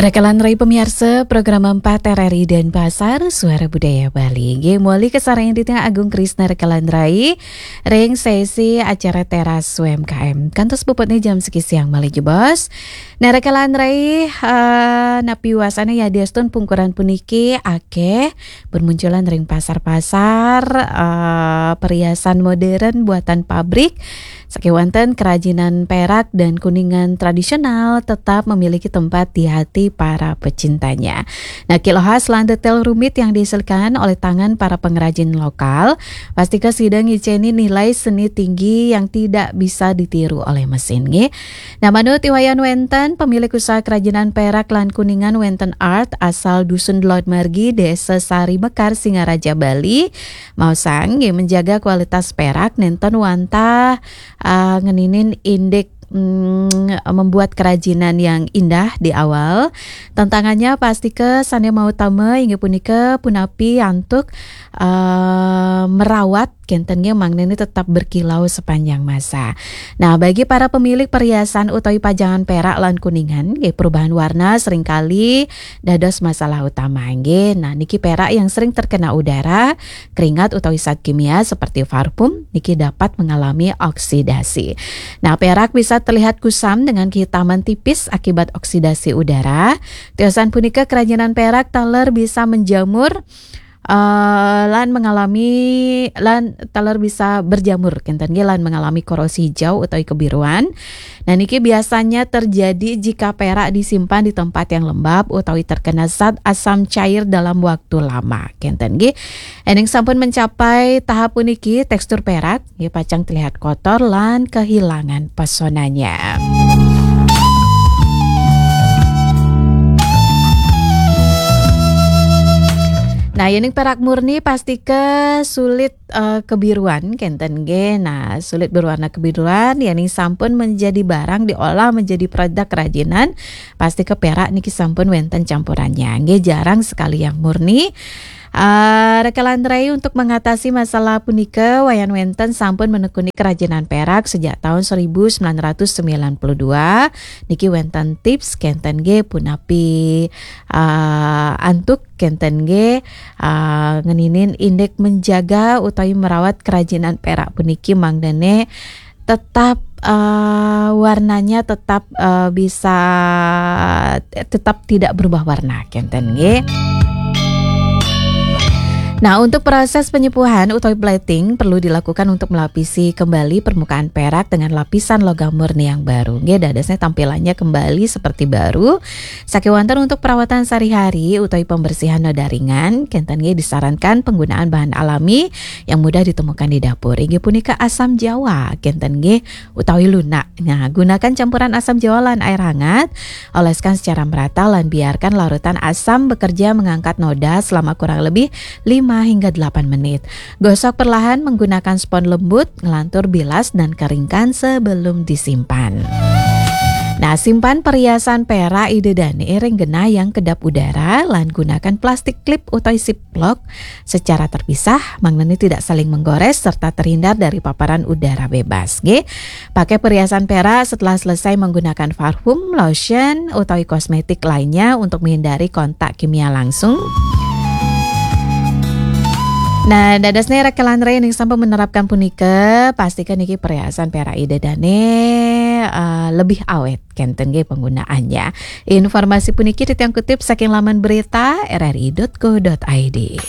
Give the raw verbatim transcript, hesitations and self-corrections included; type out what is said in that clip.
Rekalan rai pamiarsa, program empat R R I Denpasar, Suara Budaya Bali. Nggih, mawali kasarengin titiang Agung Krisna Rekalan rai ring sesi acara Teras U M K M. Kantos puputnya jam siki siang malih jebos. Nah, Rekalan rai, eh, napi wasana yadiastun pungkuran puniki akeh bermunculan ring pasar-pasar, eh, perhiasan modern buatan pabrik, sakewanten kerajinan perak dan kuningan tradisional tetap memiliki tempat di hati para pecintanya. Nah, kiloh khas lan detail rumit yang dihasilkan oleh tangan para pengrajin lokal, pastika sida ngiceni nilai seni tinggi yang tidak bisa ditiru oleh mesin, nggih. Nah, manut Iwayan Wenten, pemilik usaha kerajinan perak lan kuningan Wenten Art asal Dusun Dlod Margi, Desa Sari Mekar, Singaraja, Bali, maosang, nggih, menjaga kualitas perak nenten wantah, ah, ngeninin indik, mm, membuat kerajinan yang indah di awal. Tantangannya pastika sane mautama inggih punika punapi antuk, ah, merawat kenten nggih mangdane tetap berkilau sepanjang masa. Nah, bagi para pemilik perhiasan utawi pajangan perak lan kuningan, nggih, perubahan warna seringkali dados masalah utama, nggih. Nah, niki perak yang sering terkena udara, keringat utawi zat kimia seperti parfum, niki dapat mengalami oksidasi. Nah, perak bisa terlihat kusam dengan kehitaman tipis akibat oksidasi udara. Tiosan punika kerajinan perak taler bisa menjamur, eh, lan mengalami, lan taler bisa berjamur, kenten nggih, lan mengalami korosi hijau utawi kebiruan. Nah, niki biasanya terjadi jika perak disimpan di tempat yang lembab utawi terkena zat asam cair dalam waktu lama, kenten nggih. Ening sampun mencapai tahap puniki, tekstur perak nggih pacang terlihat kotor lan kehilangan pesonanya. Nah, yening perak murni pastika sulit, eh, kebiruan, kenten nggih. Nah, sulit berwarna kebiruan, yening sampun menjadi barang diolah menjadi produk kerajinan, pastika perak niki sampun wenten campurannya. Nggih, jarang sekali yang murni. Eh, Rekalan rai, untuk mengatasi masalah punika, Wayan Wenten sampun menekuni kerajinan perak sejak tahun seribu sembilan ratus sembilan puluh dua. Niki wenten tips kenten nggih punapi, eh, antuk kenten nggih, eh, ngeninin indik menjaga utawi merawat kerajinan perak puniki mangdane tetap, eh, warnanya tetap, eh, bisa tetap tidak berubah warna, kenten nggih. Nah, untuk proses penyepuhan utawi plating perlu dilakukan untuk melapisi kembali permukaan perak dengan lapisan logam murni yang baru. Nggih, dadosnya tampilannya kembali seperti baru. Sakewanten untuk perawatan sehari-hari utawi pembersihan noda ringan, kenten nggih disarankan penggunaan bahan alami yang mudah ditemukan di dapur. Inggih punika asam jawa, kenten nggih, utawi lunak. Nah, gunakan campuran asam jawa lan air hangat, oleskan secara merata lan biarkan larutan asam bekerja mengangkat noda selama kurang lebih lima hingga delapan menit. Gosok perlahan menggunakan spons lembut, ngelantur bilas dan keringkan sebelum disimpan. Nah, simpan perhiasan perak ida dane ring genah yang kedap udara lan gunakan plastik klip utawi ziplock secara terpisah, mangdane tidak saling menggores serta terhindar dari paparan udara bebas, nggih. Pakai perhiasan perak setelah selesai menggunakan parfum, lotion, utawi kosmetik lainnya untuk menghindari kontak kimia langsung. Nah, dadosnya Rekalan rai ning sampun menerapkan punika, pastikan niki perhiasan perak ida dane, eh, lebih awet kenten nggih penggunaannya. Informasi puniki titiang kutip saking laman berita R R I dot co dot I D.